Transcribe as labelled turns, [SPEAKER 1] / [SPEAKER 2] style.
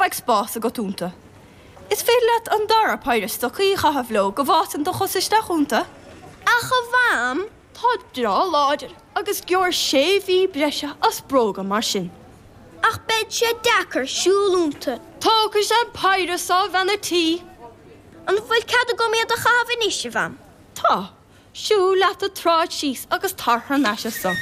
[SPEAKER 1] beidh spás agat iontu. Is féidir leat an dara péire stocaí a chaitheamh leo go bhfásann do chosa isteach iontu.
[SPEAKER 2] Ach a Mham!
[SPEAKER 1] Táid breá láidir agus gheobhair sé mhí breise as bróga mar sin.
[SPEAKER 2] Ach beidh sé deacair siúl iontu.
[SPEAKER 1] Tógfaidh sé an péire so, a bhean a' tí.
[SPEAKER 2] An bhfuil cead agam iad a chaitheamh anois, a Mham?
[SPEAKER 1] Tá. Siúil leat an tsráid síos agus tar thar n-ais anso.